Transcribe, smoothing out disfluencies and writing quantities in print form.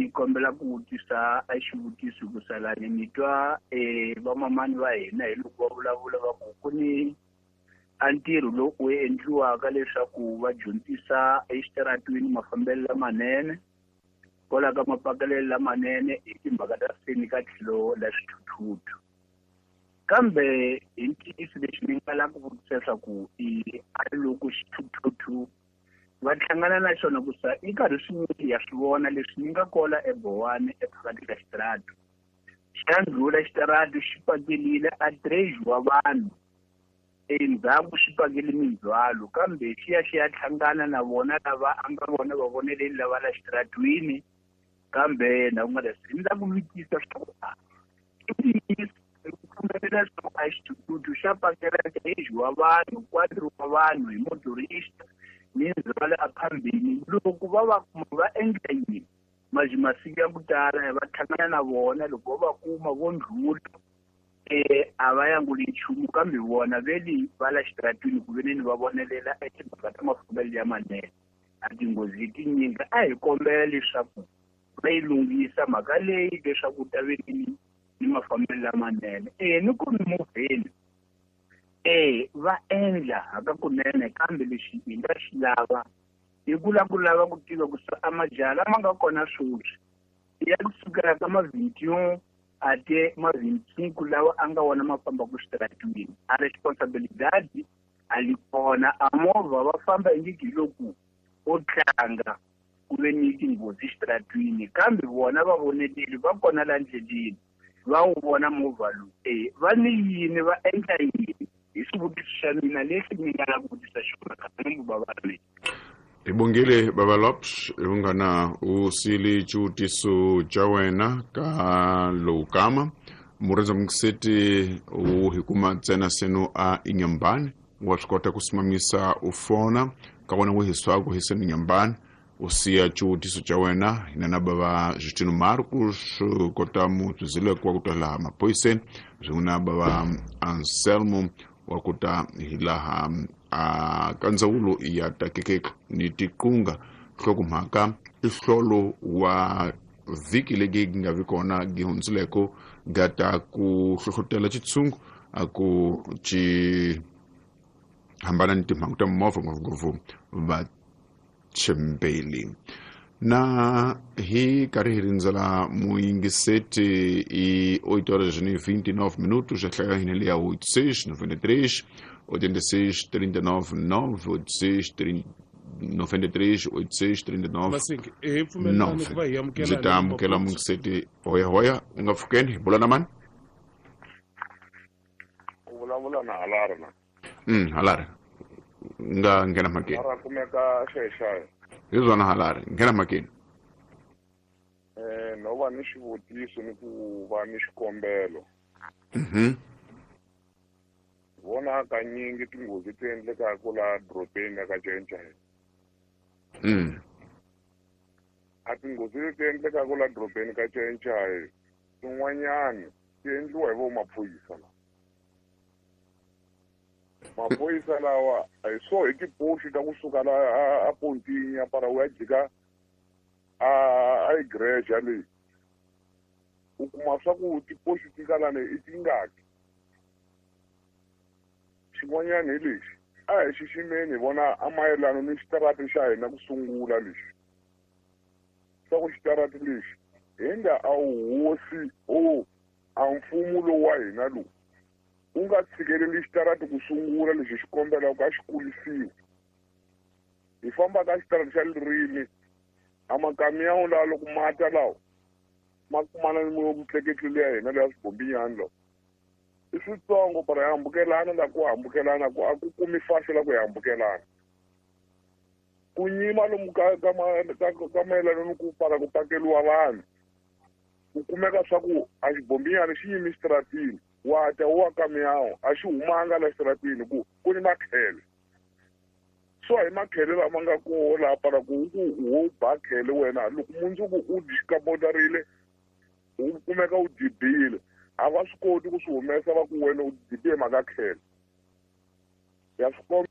Ni kombela ku vutisa a xivutiso ku salani ni twa vamamani va hina hi loko va vulavula va ku ku ni a ntirho lowu wu endliwaka leswaku va dyondzisa exitaratwini mafambelo lamanene kwala ka mapakelelo lamanene hi timhaka ta seni ka tlhelo la swithuthuthu. Kambe hi ntiyiso lexi ni nga lava ku vutisa leswaku i a loko xithuthuthu va hlangana na xona ku sa i karhi swinyingi ya swi vona leswi ni nga kola eBowani ephakathi ka xitaratu xa ndlhula xitaratu xi pakelile a treasure wa vanhu endzhaku xi pakele mindzhwalo kambe xi ya xi ya hlangana na vona lava a nga vona va voneleli lava la xitaratwini kambe na ku nga ri ni la ku vutisa swa ku i pfumelela leswaku a xithuthuthu xa pakela gauge wa vanhu quadro wa vanhu hi motorista ni ndzhwalo aphambili loko va va kuma va endla yini maji masiku ya ku tala va hlangana na vona loko va va kuma vo ndlhula a va yanguli nchumu kambe vona veli va la xitaratwini ku veneni va vonelela etimhaka ta mafambelo ya manene a tinghozi tinyingi a hi kombela leswaku va yi lunghisa mhaka leyi leswaku ta venini ni mafambelo lamanene ni ku mimovheni va endla hakakunene kambe lexi hi nga xi lava hi ku lava ku lava ku tiva ku a majaha lama nga kona sweswi ya kusukela ka ma 21 ate ma 25 lawa a nga wona ma fambaka xitaratwini a responsibilidade a li kona a movha va famba ingiki hi loko o tlanga ku ve ni tinghozi xitaratwini kambe vona va voneleli va kona la ndleleni va wu vona movha lowu va ni yini va endla yini hi xivutiso xa mina lexi ni nga lava ku vutisa xona khangu baba mina. Hi bongile baba Lops hi vunghana u sili xivutiso xa wena ka lowu kama murindza mukiseti u hi kuma ntsena seno a inyambani wa swi kota ku simamisa u fona ka wena wu hiswaku hi seno inyambani u siya xivutiso xa wena hina na bava Justino Marcos kota mutsuzileko wa ku ta laha maphoyiseni swin'we na bava Anselmo wa ku ta hi laha a ka ndzawulo ya takekeke ni tiqunga nhlokomhaka i hlolo wa vhiki legi gi nga vi kona gi hundzileko ga ta ku hlohlotela xitshungu a ku ci hambana ni timhangu ta mimovha ngopfungopfu vachembeli na hi karhi hi rindzela muyingiseti i 8 horas ni 29 minutos ya hlaya hina leya 86 93 86 39 9 86 93 86 39 Masiki, hi pfumelelani ku va hi amukela ndzi ta amukela muyingiseti hoya hoya u nga pfukeni hi bula na mani u vulavula na Halari na Halari nga nghena mhakeni Halari kumeka xexayo hi zwona Halari nghena mhakeni no va ni xivutiso ni ku va ni xikombelo vona kanyingi tinghozi ti endlekaka laha dorobeni ya ka Cenchai a tinghozi leti endlekaka laha dorobeni ka Cenchai tin'wanyani ti endliwa hi vo maphorisa lawa maphorisa lawa hi so hi tipoxi ta kusuka la a pontini ya para u ya jika a igreja leyi u kuma swa ku tipoxi ti nga lani i tingaki xin'wanyana hi lexi a hi xiximeni hi vona a mayelana ni xitarati xa hina ku sungula lexi swa ku xitarati lexi hi nga a wu hosi o a mfumo lowu wa hina lowu u nga tshikeleli xitarati ku sungula lexi xi kombelaka a xi kulisiwa hi famba ka xitarati xa ririmi a makamiyawu lawa loko mata lawa ma kumana ni mutleketli leya hina leya swibombinyani lawa i switsongo para hi hambukelana la ku hambukelana ku a ku kumi faxo la ku hi hambukelana ku nyima lomu ka ka ka mayelana ni ku para ku pakeliwa vanhu ku kumeka swa ku a xibombinyani xi yimi xitaratini wa ta wa kamiyawu a xi humanga la xitaratini ku ku ni makhele so hi makhele lama nga koho laha para ku ku wo ba khele wena loko mundzuku u dixikamotarile u kumeka u dibile a va swi koti ku swi humesa va ku wena u dibe mhaka khele ya swi komba.